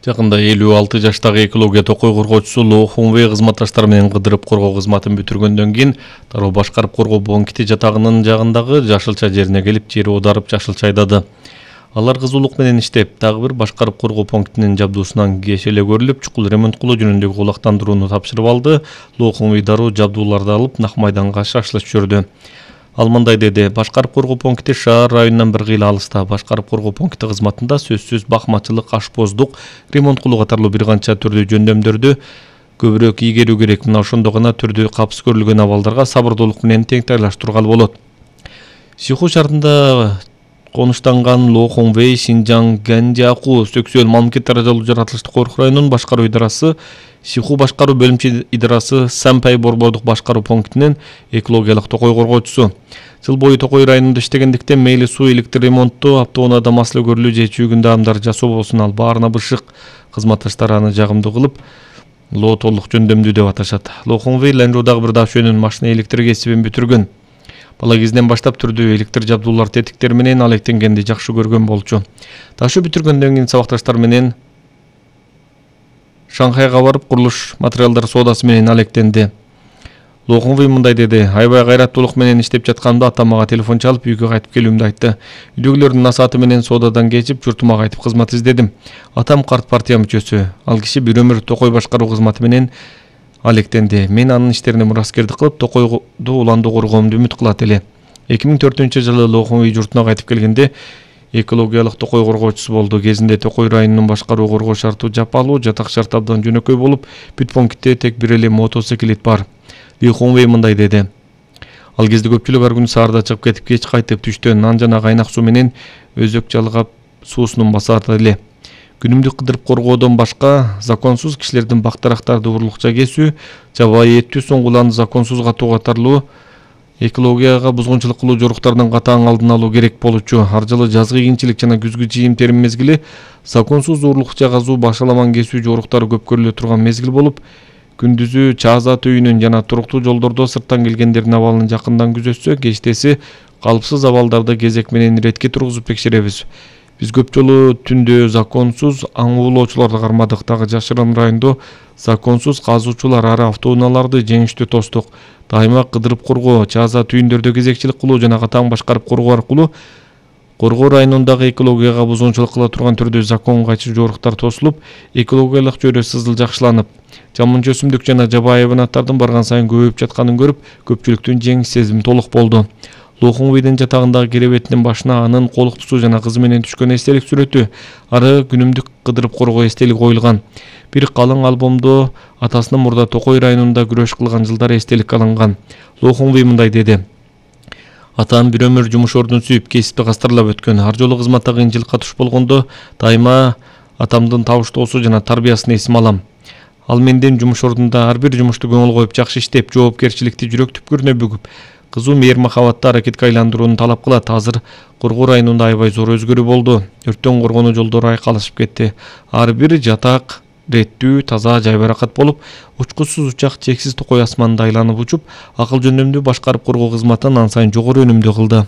Жакында 56 жаштагы экология токой коргоочусу Ло Хунвей кызматташтары менен кыдырып коргоо кызматын бүтүргөндөн кийин дароо башкарып коргоо Бонкити жатагынын жагындагы жашылча жерине келип, жери оодарып жашылча айдады. Алар кызуулук менен иштеп, дагы бир башкарып коргоо пунктинин жабдуусунан кеш эле көрүлүп, чукул ремонт кылуу жөнүндөгү кулактандырууну тапшырып алды. Ло Хунвей дароо жабдууларды алып, Нак майданга шашылыш жүрдү. Ал мындай деди: башкарып коргоо пункти шаар районунан бир кыйла алыста. Башкарып коргоо пункти кызматында сөзсүз бакмачылык, ашпоздук, ремонт кылуу катарлуу бир канча түрдүү жөндөмдөрдү көбүрөөк ийгерүү керек. Мына ошондо гана түрдүү капсыз көрүлгөн абалдарга сабырдуулук менен теңтайлаштырууга болот. Сиху шаарында конуштанган Ло Хунвей Шинжаң Ганжаку сексуал мамлекеттер жолу жаратылыштык коркуу районунун башкаруу идарасы, Сиху башкаруу бөлүмчө идарасы Сампай борбордук башкаруу пунктинин экологиялык токой коргоочусу. Жыл бою токой районунда иштегендиктен мейли суу, электр ремонту, автоунаада маселе көрүлүү же чүйгүндө амдар жасоо болсун, ал баарына бышык. Кызматташтары аны жагымдуу кылып, Ло толук жөндөмдүү деп аташат. Ло Хунвей Ланжодагы бир дашөөнүн машина электр кесибин бүтүргөн. Бала кезинен баштап түрдүү электр жабдуулар, тетиктер менен алектенгенди жакшы көргөн болчу. Дашөө бүтүргөндөн кийин сабакташтар менен Шанхайга барып, курулуш материалдар соодасы менен алектенди. Ло Хунвей мындай деди: аябай кайраттуулук менен иштеп жатканымда атам мага телефон чалып, үйгө кайтып келүүмдү айтты. Үйдөгүлөрдүн насааты менен соодадан кечип, журтума кайтып кызмат издедим. Атам карт партия мүчөсү. Ал киши бир өмүр токой башкаруу кызматы менен алектенди. Мен анын иштерине мураскердик кылып, токойду уланды коргоомду үмүт кылат эле. 2004-жылы Ло Хунвей журтуна кайтып келгенде экологиялык токой коргоочусу болду. Кезинде токой районунун башкаруу коргоо шарту жапалуу, жатак шарт абдан жөнөкөй болуп, бүт пунктте тек бир эле мотоциклет бар. Ло Хунвей мындай деди: ал кезде көпчүлүк ар күнү саарда чыгып кетип, кеч кайтып, түштө нан жана кайнак суу менен өзөк жалгап суусунун басарды эле. Күнүмдүк кыдырып коргоодон башка законсуз кишилердин бактарактарды урлукча кесүү, жабайы эттүү соңгуларды законсуз катуу катарлуу экологияга бузгунчулук кылуу жоруктарынын катаң алдын алуу керек болчу. Ар жылы жазгы кийинчилик жана күзгү жыйым терим мезгили законсуз урлукча казуу, башаламан кесүү жоруктары көп көрүлө турган мезгил болуп, күндүзү Чаазат үйүнүн жана туруктуу жолдордо сырттан келгендердин абалын жакындан күзөтсө, кечтеси калыпсыз абалдарды кезек менен иретке тургузуп текшеребиз. Биз көп жолу түндө законсуз аң уулоочуларды кармадык. Дагы жашырын райондо законсуз казуучулар ары автоунааларды жеңиштүү тостук. Дайыма кыдырып коргоо, Чаазат үйүндөрдө кезекчилик кылуу жана катаң башкарып коргоо аркылуу коргоо районундагы экологияга бузгунчулук кыла турган түрдүү закон кайчы жоруктар тосулуп, экологиялык чөйрө сызыл жакшыланып, жамынчы өсүмдүк жана жабайы хайванаттардын барган сайын көбөйүп жатканын көрүп, көпчүлүктүн жеңиш сезими толук болду. Ло Хунвейдин жатагындагы керебетинин башына анын колуктусу жана кызы менен түшкөн эстелик сүрөтү, ары күнүмдүк кыдырып коргоо эстелиги коюлган. Бир калың альбомдо атасынын мурда токой районунда күрөш кылган жылдары эстелик алынган. Ло Хунвей мындай деди: атам бир өмүр жумуш ордун сүйүп, кесипти кастарлап өткөн. Ар жолу кызматта кыйынчылыкка туш болгондо дайыма атамдын табыштоосу жана тарбиясын эсиме алам. Ал менден жумуш ордунда ар бир жумушту көңүл коюп, жакшы иштеп, жоопкерчиликти жүрөк түпкүрүнө бүгүп, кызуу мейир-махабатты аракетке айландырууну талап кылат. Азыр коргоо районунда аябай зор өзгөрүү болду. Өрттөн коргонуу жолдору айкалышып кетти. Ар бир жатак реттүү, таза, жайбаракат болуп, учкучсуз учак чексиз токой асманда айланып учуп, акыл жөндөмдүү башкарып коргоо кызматын ан сайын жогору өнүмдүү кылды.